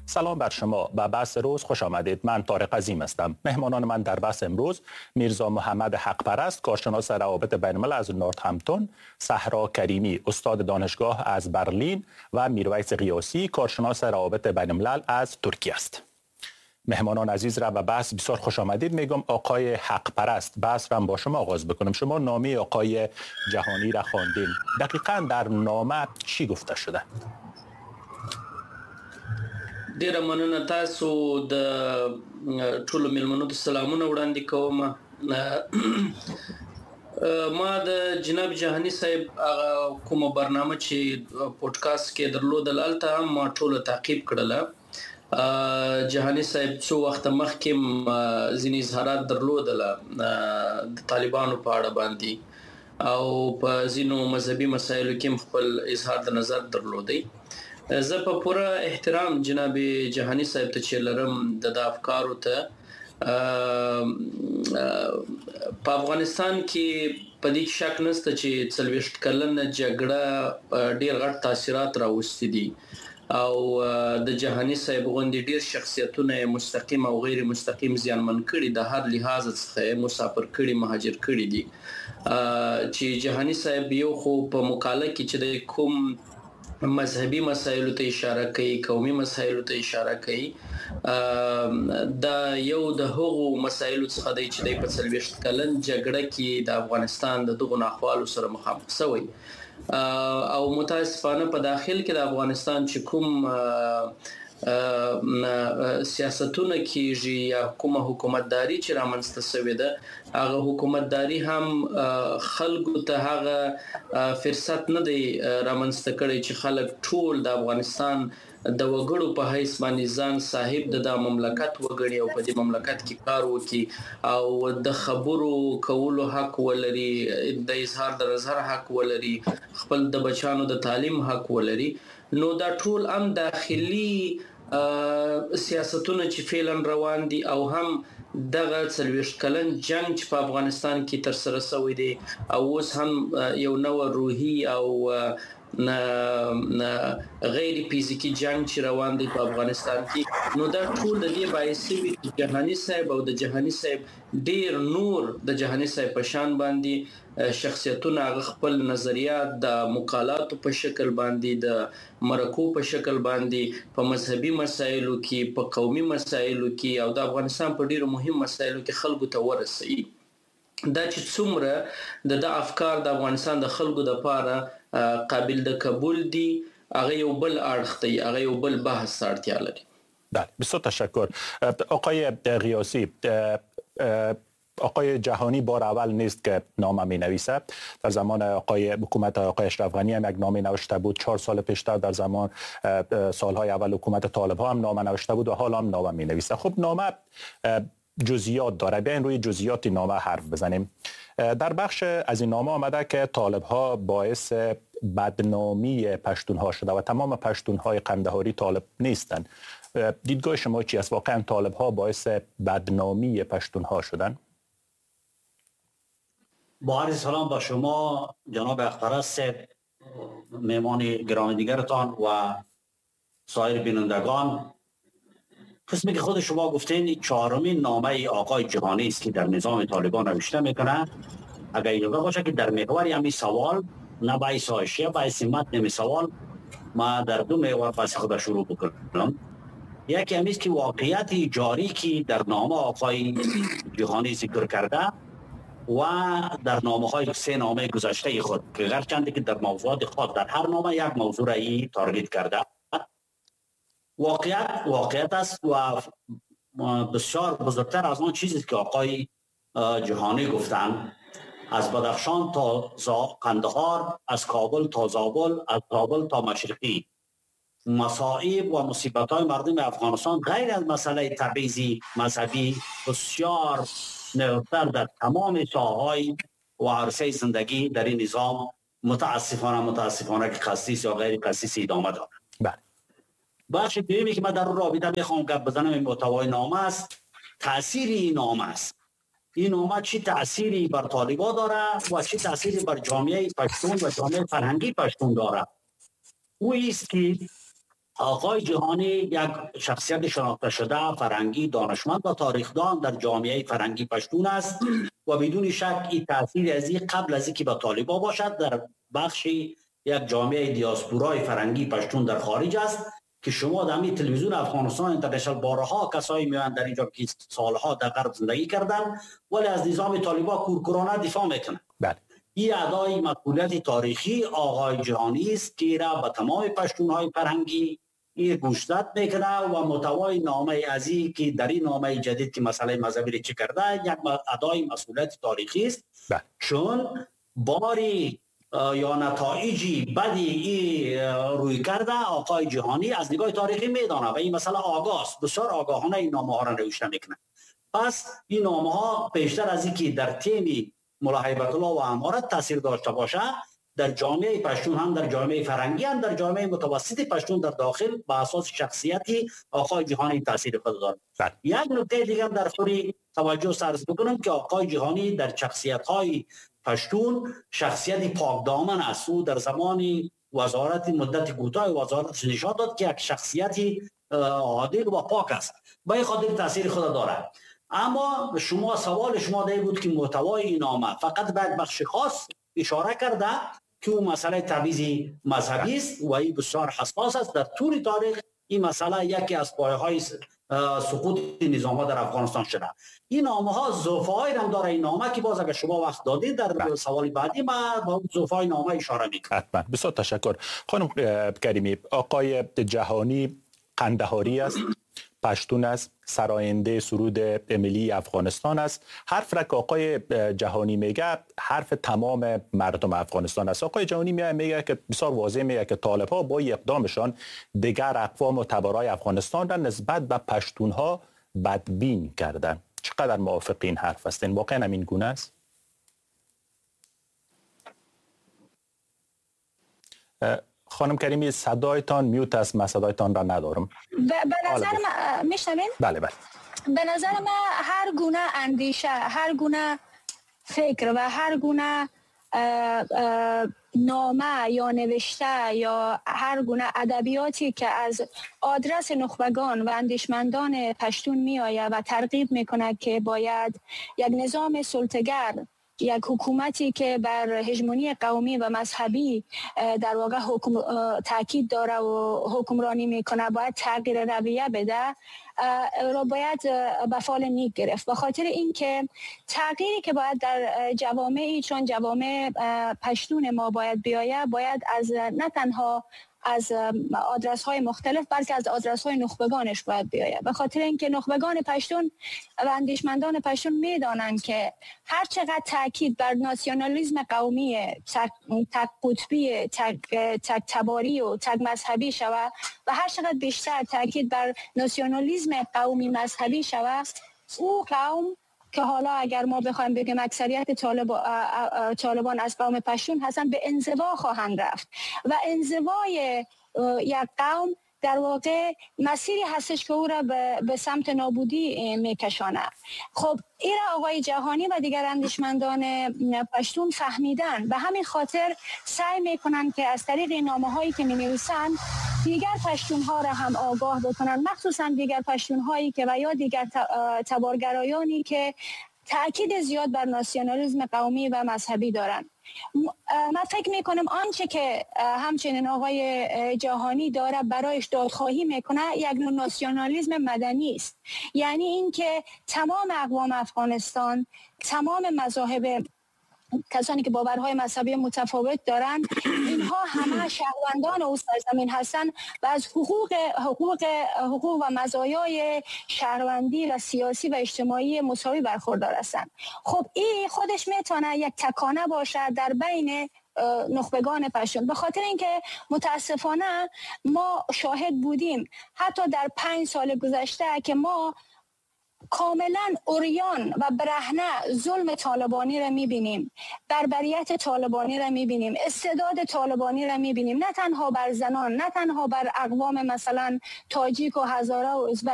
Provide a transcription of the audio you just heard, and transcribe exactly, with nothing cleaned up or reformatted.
سلام بر شما و بحث روز خوش آمدید. من طارق عظیم هستم. مهمانان من در بحث امروز میرزا محمد حقپرست، کارشناس روابط بین الملل از نورثهمپتون، صحرا کریمی، استاد دانشگاه از برلین و میرویس غیاثی، کارشناس روابط بین الملل از ترکیه است. مهمانان عزیز را به بحث بسیار خوش آمدید میگم. آقای حقپرست، بحث را با شما آغاز بکنم. شما نامه آقای جهانی را خواندین. دقیقاً در نامه چی گفته شده؟ ډیره مننه تاسو د ټولو میلمنو ته سلامونه وړاندې کوم. ما د جناب جهانی صاحب هغه کومه برنامه چې پودکاسټ کې درلودل هلته هم ما ټوله تعقیب کړله. جهانی صاحب څو وخت مخکې ځینې اظهارات درلودله د طالبانو په اړه باندې او په ځینو مذهبي مسایلو کې هم خپل اظهار د نظر درلودی. زه په پوره احترام جناب جهانی صاحب ته چې لرم د د افکارو ته، په افغانستان کې په دې کې شک نشته چې څلوېښت کلنه جګړه ډېر غټ تاثیرات راوستي دي او د جهانی صاحب غوندې ډېر شخصیتونه یې مستقیم او غیر مستقیم زیانمن کړي، د هر لحاظ څخه یې مسافر کړي، مهاجر کړي دي. چې جهانی صاحب یو خو په مقاله کې چې د کوم مذهبي مسایلو ته اشاره کوي، قومي مسایلو ته اشاره کوي، دا یو د هغو مسایلو څخه دی چې دی په څلوېښت کلن جګړه کې د افغانستان د دغو ناخوالو سره مخامخ شوی او متاسفانه په داخل کې د افغانستان چې کوم سیاستونه کیږي یا کومه حکومتداري چې رامنځته شوې ده، هغه حکومتداري هم خلکو ته هغه فرصت نه دی رامنځته کړی چې خلک ټول د افغانستان د وګړو په حیث باندې ځان صاحب د دا مملکت وګڼي او په دې مملکت کې کار وکړي او د خبرو کولو حق ولري، د اظهار د نظر حق ولري، خپل د بچانو د تعلیم حق ولري. نو دا ټول هم داخلي سیاستونه چې فعلا روان دي او هم دغه څلوېښت کلن جنگ چې په افغانستان کې ترسره شوی دی او اوس هم یو نوی روحي او غیر فزیکي جنگ چې روان دی په افغانستان کې، نو دا ټول د دې باعث شوي چې جهانی صاحب او د جهانی صاحب ډیر نور د جهانی صاحب په شان باندې شخصیتونه هغه خپل نظریات د مقالاتو په شکل باندې، د مرکو په شکل باندې، په مذهبي مسایلو کې، په قومي مسایلو کې او د افغانستان په ډیرو مهم مسایلو کې خلکو ته ورسوي. دا چې څومره د د افکار د افغانستان د خلکو دپاره قابل د قبول دي، هغه یو بل اړخ دی، هغه یو بل بحث ته اړتیا لري. بله، بسیار تشکر. آقای غیاثی، آقای جهانی بار اول نیست که نامه می نویسد. در زمان آقای حکومت آقای اشرف غنی هم یک نامه نوشته بود، چهار سال پیشتر در زمان سالهای اول حکومت طالب ها هم نامه نوشته بود و حالا هم نامه می نویسد. خب نامه جزئیات داره، بیاین روی جزئیات نامه حرف بزنیم. در بخش از این نامه آمده که طالب ها باعث بدنامی پشتون ها شده و تمام پشتون های قندهاری طالب نیستند. دیدگاه شما چی است؟ واقعا طالب ها باعث بدنامی پشتون ها شدن؟ با عرض سلام با شما جناب اخترست، مهمان گرامی دیگرتان و سایر بینندگان. قسمی که خود شما گفتین چهارمین نامه آقای جهانی است که در نظام طالبان نوشته میکنه. اگر اجازه باشه که در محور همین سوال، نه باعث حاشیه، باعث متن همین سوال، ما در دو محور بحث خود شروع بکنم. یکی همیست که واقعیت جاری که در نامه آقای جهانی ذکر کرده و در نامه های سه نامه گذشته خود که هرچند که در موضوعات خود در هر نامه یک موضوع را ای تارگت کرده، واقعیت واقعیت است و بسیار بزرگتر از آن چیزی که آقای جهانی گفتند. از بدخشان تا قندهار، از کابل تا زابل، از زابل تا مشرقی، مصائب و مصیبت‌های مردم افغانستان غیر از مسئله تبعیضی مذهبی بسیار نهفتر در تمام ساحه‌های و عرصه زندگی در این نظام متاسفانه متاسفانه که قصدی یا غیر قصدی ادامه دارد. بله. بخش دومی که من در رابطه میخوام گپ بزنم این محتوای نامه است، تاثیر این نامه است. این نامه چی تأثیری بر طالبا داره و چه تأثیری بر جامعه پشتون و جامعه فرهنگی پشتون داره؟ او است که آقای جهانی یک شخصیت شناخته شده، فرهنگی، دانشمند و تاریخدان در جامعه فرهنگی پشتون است و بدون شک این تاثیر از این قبل از اینکه به طالبان باشد در بخش یک جامعه دیاسپورای فرهنگی پشتون در خارج است که شما در همین تلویزیون افغانستان اینترنشنال بارها کسایی میان در اینجا که سالها در غرب زندگی کردن ولی از نظام طالبان کورکورانه دفاع میکنن. بله. این ادای مسئولیت تاریخی آقای جهانی است که را به تمام پشتونهای فرهنگی این گوشزد میکنه و محتوای نامه از این که در این نامه جدید که مسئله مذهبی را چه کرده یک ادای مسئولیت تاریخی است. بله. چون باری یا نتایجی بدی ای روی کرده آقای جهانی از نگاه تاریخی میدانه و این مسئله آگاه است، بسیار آگاهانه این نامه ها را نوشته میکنه. پس این نامه ها بیشتر از اینکه در تیم ملا هیبت الله و امارت تاثیر داشته باشه در جامعه پشتون، هم در جامعه فرنگی، هم در جامعه متوسط پشتون در داخل به اساس شخصیتی آقای جهانی تاثیر خود دارد. یک نکته دیگه در خوری توجه سرز بکنم که آقای جهانی در شخصیت‌های پشتون شخصیت پاکدامن است. او در زمان وزارت مدت کوتاه وزارت نشان داد که یک شخصیتی عادل و پاک است، به خاطر تاثیر خود دارد. اما شما سوال شما ده بود که محتوای این نامه فقط به یک بخش خاص اشاره کرده که اون مسئله تبعیض مذهبی است و این بسیار حساس است. در طول تاریخ این مسئله یکی از پایه‌های سقوط نظام ها در افغانستان شده. این نامه ها ضعف‌هایی هم داره این نامه که باز اگر شما وقت دادید در بله. سوال بعدی ما با ضعف‌های نامه اشاره می‌کنم. حتما. بسیار تشکر. خانم کریمی، آقای جهانی قندهاری است، پشتون است، سراینده سرود ملی افغانستان است. حرف را که آقای جهانی میگه حرف تمام مردم افغانستان است. آقای جهانی میگه که بسیار واضح میگه که طالب ها با اقدامشان دیگر اقوام و تبارای افغانستان را نسبت به پشتون ها بدبین کردن. چقدر موافق این حرف هستین؟ واقعا همین گونه است؟ خانم کریمی صدایتان میوت است، من صدایتان را ندارم. به نظر من میشنوین؟ بله بله. به نظر من هر گونه اندیشه، هر گونه فکر و هر گونه نامه یا نوشته یا هر گونه ادبیاتی که از آدرس نخبگان و اندیشمندان پشتون می آید و ترغیب میکند که باید یک نظام سلطه‌گر، یک حکومتی که بر هژمونی قومی و مذهبی در واقع حکم تاکید داره و حکمرانی میکنه باید تغییر رویه بده، را باید به فال نیک گرفت. به خاطر اینکه تغییری که باید در جوامعی چون جوامع پشتون ما باید بیاید، باید از نه تنها از آدرس های مختلف بلکه از آدرس های نخبگانش باید بیاید. به خاطر اینکه نخبگان پشتون و اندیشمندان پشتون میدانند که هر چقدر تاکید بر ناسیونالیسم قومی، تک, تک قطبی، تک, تک تباری و تک مذهبی شود و هر چقدر بیشتر تاکید بر ناسیونالیسم قومی مذهبی شود، او قوم که حالا اگر ما بخوایم بگیم اکثریت طالب، طالبان از قوم پشتون هستن، به انزوا خواهند رفت و انزوای یک قوم در واقع مسیری هستش که او را به سمت نابودی میکشانه. خب این را آقای جهانی و دیگر اندیشمندان پشتون فهمیدن، به همین خاطر سعی میکنن که از طریق نامه هایی که مینویسن دیگر پشتون ها را هم آگاه بکنن، مخصوصا دیگر پشتون هایی که و یا دیگر تبارگرایانی که تأکید زیاد بر ناسیونالیسم قومی و مذهبی دارند. من فکر میکنم آنچه که همچنین آقای جهانی داره برایش دادخواهی میکنه یک نوع ناسیونالیسم مدنی است، یعنی اینکه تمام اقوام افغانستان، تمام مذاهب، کسانی که باورهای مذهبی متفاوت دارند، اینها همه شهروندان او سرزمین هستند و از حقوق حقوق حقوق و مزایای شهروندی و سیاسی و اجتماعی مساوی برخوردار هستند. خب این خودش میتونه یک تکانه باشد در بین نخبگان پشتون، به خاطر اینکه متاسفانه ما شاهد بودیم حتی در پنج سال گذشته که ما کاملا عریان و برهنه ظلم طالبانی را میبینیم، بربریت طالبانی را میبینیم، استعداد طالبانی را میبینیم، نه تنها بر زنان، نه تنها بر اقوام مثلا تاجیک و هزاره و ازبک،